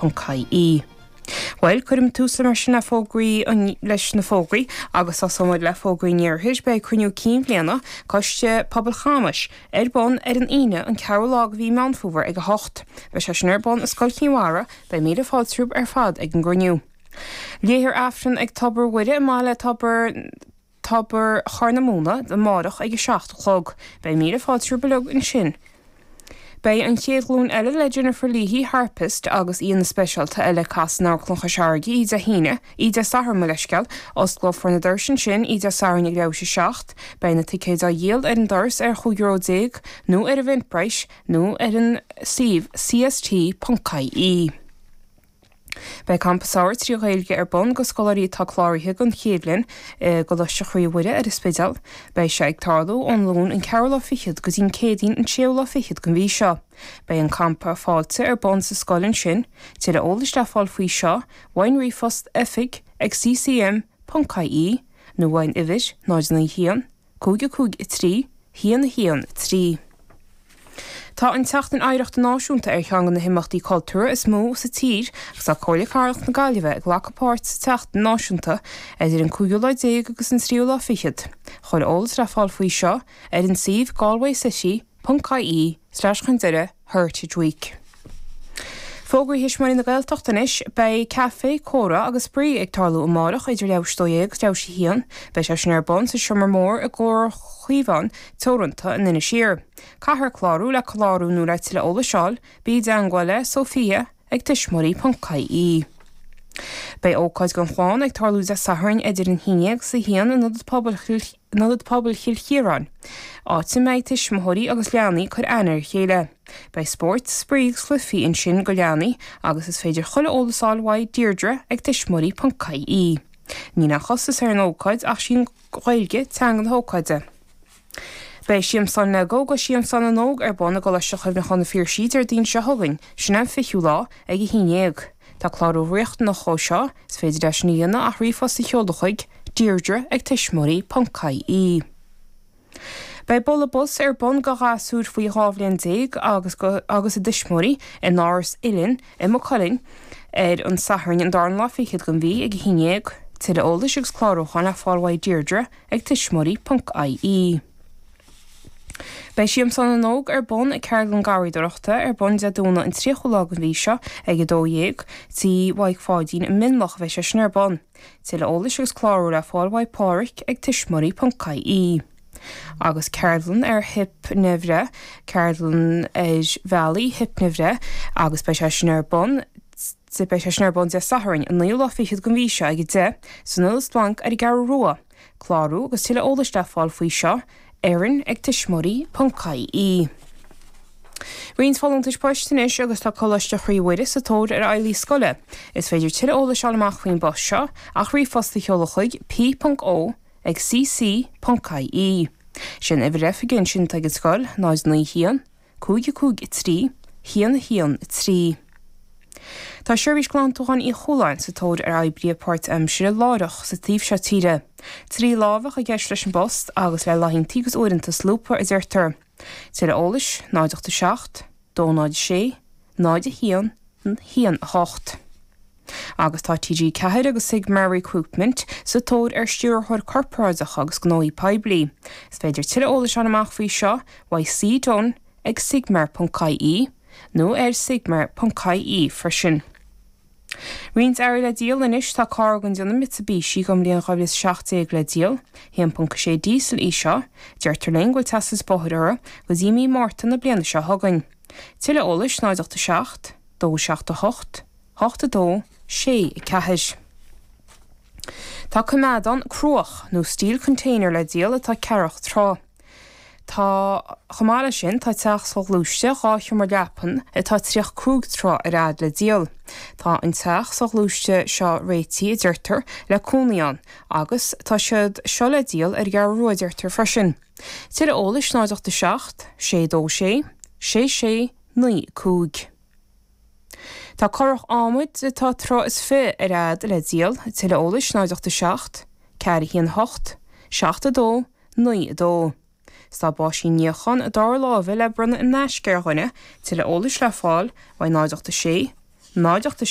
Ponc ie. Bhuel, cuirim tús le mar sin le fógraí an, leis na fógraí agus tosóimid le fógraí an iarthair. Beidh cruinniú cinn bhliana Coiste Pobail Chamais ar bun ar an Aoine an ceathrú lá de mhí Meán Fómhair ag 8. Beidh sé sin ar bun i Scoil Chinn Mhara. Beidh míle fáilte romhaibh ar fad ag an gcruinniú. Léifear Aifreann ag Tobar Mhuire i mBaile Tobar. Tobar Chorr na Móna amárach ag 7 a chlog. Beidh míle fáilte romhaibh uilig ansin. Beidh An Chéad Ghlúin Eile le Jennifer Leahy, harpist, agus aíonna speisialta eile ag casadh in Amharclann Chois Fharraige oíche Dé hAoine, oíche Dé Sathairn, mo leithscéal. Osclófar na doirse ansin oíche Dé Sathairn ag leathuair tar éis 7. Beidh na ticéid á dhíol ar an doras ar chúig euro déag nó ar Eventbrite nó ar an suíomh cst.ie. Beidh Campa Samhraidh 3 Ghaeilge ar bun go scoláirí atá cláraithe don chéad bhliain i gColáiste Chroí Mhuire ar an Spidéal. Beidh sé ag tarlú ón Luan an ceathrú lá fichead go dtí an Céadaoin an séú lá fichead den mhí seo. Beidh an Campa Fáilte ar bun sa scoil ansin. Tuilleadh eolais le fáil faoi seo uaidh an ríomhphost oifig ag ccm.ie nó uaidh an uimhir 0 9 1 5 5 3 1 1 3. Tá an tSeachtain Oidhreachta Náisiúnta ar cheann de na himeachtaí cultúrtha is mó sa tír agus tá Comhairle Cathrach na Gaillimhe ag glacadh páirt sa tseachtain náisiúnta idir an cúigiú lá déag agus an tríú lá fichead. Chuile eolas le fáil faoi seo ar an suíomh galwaycity ponc ie slash chun deireadh Heritage Week. Fógraí Thuismitheoirí na Gaeltachta anois. Beidh Caife, Comhrá agus Spraoi ag tarlú amárach idir leathuair tar éis 12 agus leathuair tar éis 1. Beidh sé sin ar bun sa Seomra Mór i gComhar Chaomhán Teoranta in Inis Oírr. Caithfear clárú le clárú nó le tuilleadh eolais a fháil, bí i dteangmháil le Sophia ag tuismitheoirí.ie. Beidh ócáid don chlann ag tarlú Dé Sathairn idir an 11 agus 1 in Ionad Pobail in Ionad Pobail Chill Chiaráin, áit a mbeidh tuismitheoirí agus leanaí ag cur aithne ar a chéile. Beidh spóirt, spraoi agus cluichí ansin go leanaí agus is féidir chuile eolas a fháil uaidh Deirdre ag tuismitheoirí.ie. Níl aon chostas ar an ócáid ach sí an Ghaeilge teanga na hócáide. Beidh Siamsán Lego agus Siamsán na nÓg ar bun i gColáiste Chuimhneacháin na Phiarsaigh Déardaoin seo chugainn, sin an 20ú lá, ag 11. Tá clárú riachtanach dhó seo, is féidir é sin a dhéanamh ach ríomhphost a sheoladh chuig, deirdre ag tuismitheoirí ponc ie. Beidh Bualadh Bos ar bun go ghasúir faoi 12 bhliain agus agus a dtuismitheoirí in Áras Uilinn i Maigh Cuilinn ar an Satharn an darna lá fichead den mhí ag 11. Tuilleadh eolais agus clárúcháin le fáil uaidh Deirdre ag tuismitheoirí ponc ie. Beidh Siamsán na nÓg ar bun ag Ceardlann Garraíodóireachta ar bun Dé Domhnaigh an 30ú lá den mhí seo ag 12:00, Tí Mhaidhc Pháidín i Mionlach a bheidh sé sin ar bun. Tuilleadh eolais agus clárú le fáil uaidh Pádhraic ag tuismitheoirí ponc ie. Agus ceardlann ar hipnea-bhreith, ceardlann ar bhealaí hipnea-bhreith agus beidh sé sin ar bun beidh sé sin ar bun Dé Sathairn an naoú lá fichead den mhí seo ag 10 san Ionad Splanc ar an gCeathrú Rua. Clárú agus tuilleadh eolais le fáil faoi seo, Erin ag tuismitheoirí ponc ie. Roinnt folúntais poist anois agus tá Coláiste Chroí Mhuire sa tóir ar fheighlí scoile. Is féidir tuilleadh eolais a fháil amach faoin bpost seo ach ríomhphost a sheoladh chuig p.o ag cc ponc ie. Sin uimhir oifige ansin atá ag an scoil, 0 9 1 5 5 3 1 1 3. Tá Seirbhís Glantúcháin Uí Chualáin sa tóir ar oibrithe páirtaimsire láithreach sa taobh seo tíre. Trí lá a bheadh i gceist leis an bpost agus le laethanta agus uaireanta solúbtha, a deirtear. Tuilleadh eolais, 0 8 7 2 0 6 0 1 1 8. Agus tá TG4 agus Sigmar Recruitment sa tóir ar Stiúrthóir Corparáideach agus Gnóthaí Poiblí. Is féidir tuilleadh eolais a fháil amach faoi seo uaidh C Dunne ag sigmar.ie nó ar sigmar.ie freisin. Roinnt earraí le díol anois, tá carr den déanamh Mitsubishi den bhliain 2017 le díol. 1.6 díosal í seo. Deirtear linn go bhfuil teastas bóthair uirthi go dtí mí Márta na bliana seo chugainn. Tuilleadh eolais 0 8 7 2 7 8 8 2 6 4. Tá coimeádán cruach nó steel container le díol atá ceathracha troigh. Tá, chomh maith leis sin, tá teach soghluaiste dhá sheomra leapan atá 35 troigh ar fhad le díol. Tá an teach soghluaiste seo réitithe, a deirtear, le cónaí ann agus tá siad seo le díol ar an gCeathrú Rua, a deirtear freisin. Tuilleadh eolais 0 8 7 6 2 6 6 6 9 5. Tá curach adhmaid atá troigh is fiche ar fhad le díol, tuilleadh eolais 0 8 7 4 1 8 7 2 9 2. 'S tá báisín níocháin dara láimhe le bronnadh in aisce ar dhuine, tuilleadh eolais le fáil uaidh 0 8 6. 0 8 6.